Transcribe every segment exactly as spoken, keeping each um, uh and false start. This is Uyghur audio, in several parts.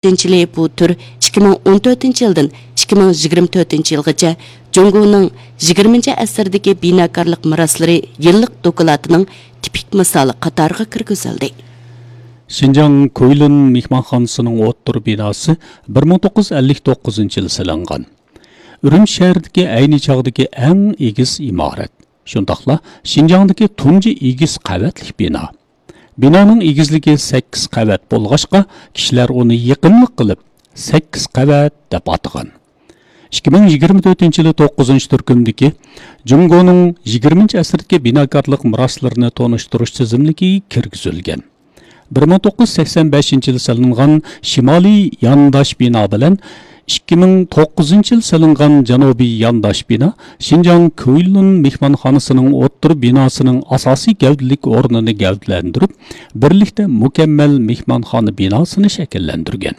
تۆتىنچى يىلى بۇ تۈر ئىككى مىڭ ئون تۆتىنچى يىلدىن ئىككى مىڭ يىگىرمە تۆتىنچى يىلغىچە جۇڭگونىڭ يىگىرمىنچى ئەسىردىكى بىناكارلىق مىراسلىرى يىللىق دوكلاتىنىڭ تىپىك مىسالى قاتارىغا كىرگۈزۈلدى. شىنجاڭ كۇيلۇن مېھمانخانىسىنىڭ ئوتتۇرا بىناسى بىر مىڭ توققۇز يۈز ئەللىك توققۇزىنچى يىلى سېلىنغان. ئۈرۈمچى شەھىرىدىكى ئەينى چاغدىكى ئەڭ ئېگىز ئىمارەت، شۇنداقلا شىنجاڭدىكى تۇنجى ئېگىز قەۋەتلىك بىنا. بىنانىڭ ئېگىزلىكى سەككىز قەۋەت بولغاچقا، كىشىلەر ئۇنى يېقىملىق قىلىپ، سەككىز قەۋەت دەپ ئاتىغان. ئىككى مىڭ يىگىرمە تۆتىنچى يىلى توققۇزىنچى تۈركۈمدىكى جۇڭگونىڭ يىگىرمىنچى ئەسىردىكى بىناكارلىق مىراسلىرىنى تونۇشتۇرۇش تىزىملىكىگە كىرگۈزۈلگەن. بىر مىڭ توققۇز يۈز سەكسەن بەشىنچى يىلى سېلىنغان شىمالىي يانداش بىنا بىلەن ئىككى مىڭ توققۇزىنچى يىلى سېلىنغان جەنۇبىي يانداش بىنا شىنجاڭ كۇيلۇن مېھمانخانىسىنىڭ ئوتتۇرا بىناسىنىڭ ئاساسىي گەۋدىلىك ئورنىنى گەۋدىلەندۈرۈپ، بىرلىكتە مۇكەممەل مېھمانخانا بىناسىنى شەكىللەندۈرگەن.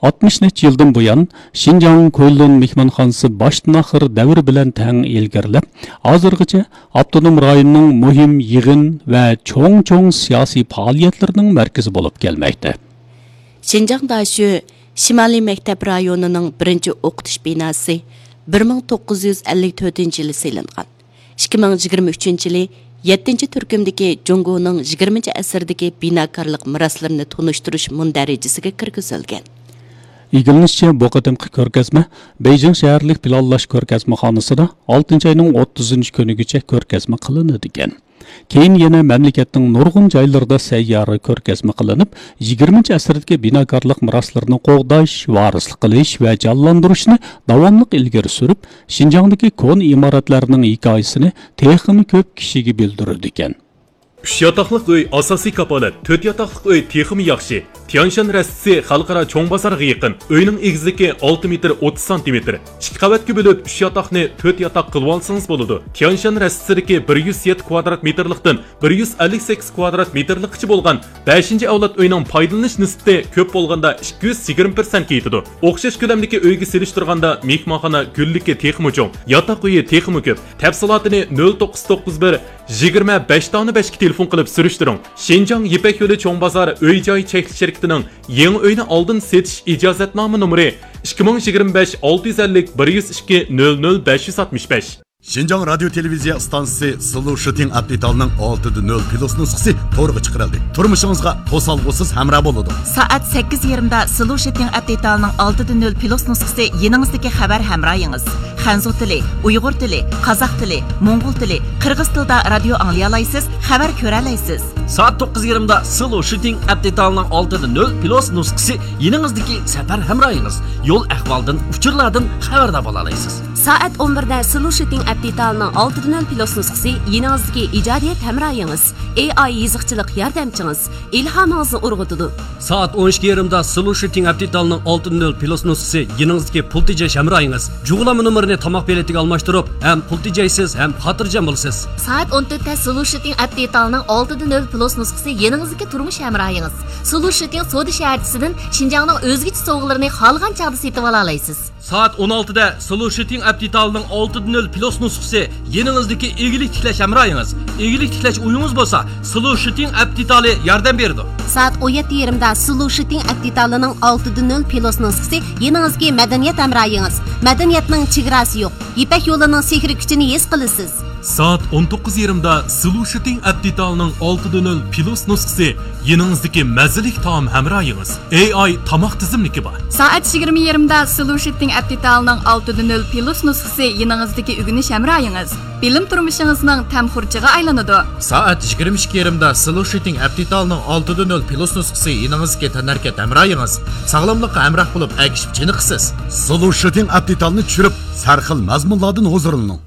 ئاتمىش نەچچە يىلدىن بۇيان، شىنجاڭ كۇيلۇن مېھمانخانىسى باشتىن ئاخىر دەۋر بىلەن تەڭ ئىلگىرىلەپ، ھازىرغىچە ئاپتونوم رايوننىڭ مۇھىم يىغىن ۋە چوڭ-چوڭ سىياسىي پائالىيەتلىرىنىڭ مەركىزى بولۇپ كەلمەكتە. شىنجاڭ داشۆ شىمالىي مەكتەپ رايونىنىڭ بىرىنچى ئوقۇتۇش بىناسى بىر مىڭ توققۇز يۈز ئەللىك تۆتىنچى يىلى سېلىنغان. ئىككى مىڭ يىگىرمە ئۈچىنچى يىلى يەتتىنچى تۈركۈمدىكى جۇڭگونىڭ يىگىرمىنچى ئەسىردىكى بىناكارلىق مىراسلىرىنى تونۇشتۇرۇش مۇندەرىجىسىگە كىرگۈزۈلگەن. ئىگىلىنىشىچە، بۇ قېتىمقى كۆرگەزمە بېيجىڭ شەھەرلىك پىلانلاش كۆرگەزمىخانىسىدا ئالتىنچى ئاينىڭ ئوتتۇزىنچى كۈنىگىچە كۆرگەزمە قىلىنىدىكەن. كېيىن يەنە مەملىكەتنىڭ نۇرغۇن جايلىرىدا سەييارە كۆرگەزمە قىلىنىپ، يىگىرمىنچى ئەسىردىكى بىناكارلىق مىراسلىرىنى قوغداش، ۋارىسلىق قىلىش ۋە جانلاندۇرۇشنى داۋاملىق ئىلگىرى سۈرۈپ، شىنجاڭدىكى كونا ئىمارەتلەرنىڭ ھېكايىسىنى تېخىمۇ كۆپ كىشىگە بىلدۈرىدىكەن. ئۈچ ياتاقلىق ئۆي ئاساسىي كاپالەت، تۆت ياتاقلىق ئۆي تېخىمۇ ياخشى. تيەنشان رەستىسى خەلقئارا چوڭ بازارغا يېقىن. ئۆينىڭ ئېگىزلىكى ئالتە مېتىر ئوتتۇز سانتىمېتىر. ئىككى قەۋەتكە بۆلۈپ، ئۈچ ياتاقنى تۆت ياتاق قىلىۋالسىڭىز بولىدۇ. تيەنشان رەستىسىدىكى بىر يۈز يەتتە كۋادرات مېتىرلىقتىن بىر يۈز ئەللىك سەككىز كۋادرات مېتىرلىققىچە بولغان بەشىنچى ئەۋلاد ئۆينىڭ پايدىلىنىش نىسبىتى كۆپ بولغاندا ئىككى يۈز يىگىرمە پىرسەنتكە يېتىدۇ. ئوخشاش كۆلەمدىكى ئۆيگە سېلىشتۇرغاندا مېھمانخانا گۈللۈكى تېخىمۇ چوڭ، ياتاق ئۆيى تېخىمۇ كۆپ. تەپسىلاتىنى نۆل توققۇز توققۇز بىر، يىگىرمە بەش دانە بەشكە تېلېفون قىلىپ سۈرۈشتۈرۈڭ. شىنجاڭ يىپەك يولى چوڭ بازار ئۆي جاي چەكلىك شىركىتىنىڭ يېڭى ئۆينى ئالدىن سېتىش ئىجازەتنامە نومۇرى ئىككى مىڭ يىگىرمە بەش ئالتە يۈز ئەللىك بىر يۈز ئىككى نۆل نۆل بەش يۈز ئاتمىش بەش. شىنجاڭ رادىيو تېلېۋىزىيە ئىستانسىسى سىلۇ شىتىڭ ئەپ دېتالىنىڭ ئالتىدە نۆل پلۇس نۇسخىسى تورغا چىقىرىلدى. تۇرمۇشىڭىزغا توسالغۇسىز ھەمراھ بولىدۇ. سائەت سەككىز يېرىمدا سىلۇ شىتىڭ ئەپ دېتالىنىڭ ئالتىدە نۆل پلۇس نۇسخىسى يېنىڭىزدىكى خەۋەر ھەمراھىڭىز. خەنزۇ تىلى، ئۇيغۇر تىلى، قازاق تىلى، موڭغۇل تىلى، قىرغىز تىلىدا رادىيو ئاڭلىيالايسىز، خەۋەر كۆرەلەيسىز. سائەت توققۇز يېرىمدا سىلۇ شىتىڭ ئەپ دېتالىنىڭ ئالتىدە نۆل پلۇس نۇسخىسى يېنىڭىزدىكى سەپەر ھەمراھىڭىز. يول ئەھۋالدىن، ئۇچۇرلاردىن خەۋەردار بولالايسىز. سائەت ئون بىردە سىلۇ شىتىڭ ئەپ دېتالىنىڭ ئالتىدە نۆل پلۇس نۇسخىسى يېنىڭىزدىكى ئىجادىيەت ھەمراھىڭىز. ئېي ئاي يېزىقچىلىق ياردەمچىڭىز. ئىلھامىڭىزنى ئۇرغۇتىدۇ. سائەت ئون ئىككى يېرىمدا سىلۇ شىتىڭ ئەپ دېتالىنىڭ ئالتىدە نۆل پلۇس نۇسخىسى يېنىڭىزدىكى پۇل تېجەش ھەمراھىڭىز. جۇغلانما نومۇرىنى تاماق بېلىتىگە ئالماشتۇرۇپ، ھەم پۇل تېجەيسىز، ھەم خاتىرجەم بولىسىز. سائەت ئون تۆتتە سىلۇ شىتىڭ ئەپ دېتالىنىڭ ئالتىدە نۆل پلۇس نۇسخىسى يېنىڭىزدىكى تۇرمۇش ھەمراھىڭىز. سىلۇ شىتىڭ سودا شەھەرچىسىدىن شىنجاڭنىڭ ئۆزگىچە سوۋغىلىرىنى خالىغان چاغدا سېتىۋالالايسىز. سائەت ئون ئالتىدە سىلۇ شىتىڭ ئەپ دېتالىنىڭ ئالتىدە نۆل پلۇس نۇسخىسى يېنىڭىزدىكى ئىگىلىك تىكلەش ھەمراھىڭىز. ئىگىلىك تىكلەش ئويىڭىز بولسا، سىلۇ شىتىڭ ئەپ دېتالى ياردەم بېرىدۇ. سائەت ئون يەتتە يېرىمدا سىلۇ شىتىڭ ئەپ دېتالىنىڭ ئالتىدە نۆل پلۇس نۇسخىسى يېنىڭىزدىكى مەدەنىيەت ھەمراھىڭىز. مەدەنىيەتنىڭ چېگراسى يوق. يىپەك يولىنىڭ سېھرىي كۈچىنى ھېس قىلىسىز. سائەت ئون توققۇز يېرىمدا سىلۇ شىتىڭ ئەپ دېتالىنىڭ ئالتىدە نۆل پلۇس نۇسخىسى يېنىڭىزدىكى مەززىلىك تائام ھەمراھىڭىز. ئېي ئاي تاماق تىزىملىكى بار. سائەت يىگىرمە يېرىمدا سىلۇ شىتىڭ ئەپ دېتالىنىڭ ئالتىدە نۆل پلۇس نۇسخىسى يېنىڭىزدىكى ئۆگىنىش ھەمراھىڭىز. بىلىم تۇرمۇشىڭىزنىڭ تەم خۇرجىنىغا ئايلىنىدۇ. سائەت يىگىرمە ئىككى يېرىمدا سىلۇ شىتىڭ ئەپ دېتالىنىڭ ئالتىدە نۆل پلۇس نۇسخىسى يېنىڭىزدىكى تەنھەرىكەت ھەمراھىڭىز. ساغلاملىققا ھەمراھ بولۇپ ئەگىشىپ چېنىقىسىز. سىلۇ شىتىڭ ئەپ دېتالىنى چۈشۈرۈپ، سەرخىل مەزمۇنلاردىن ھۇزۇرلىنىڭ.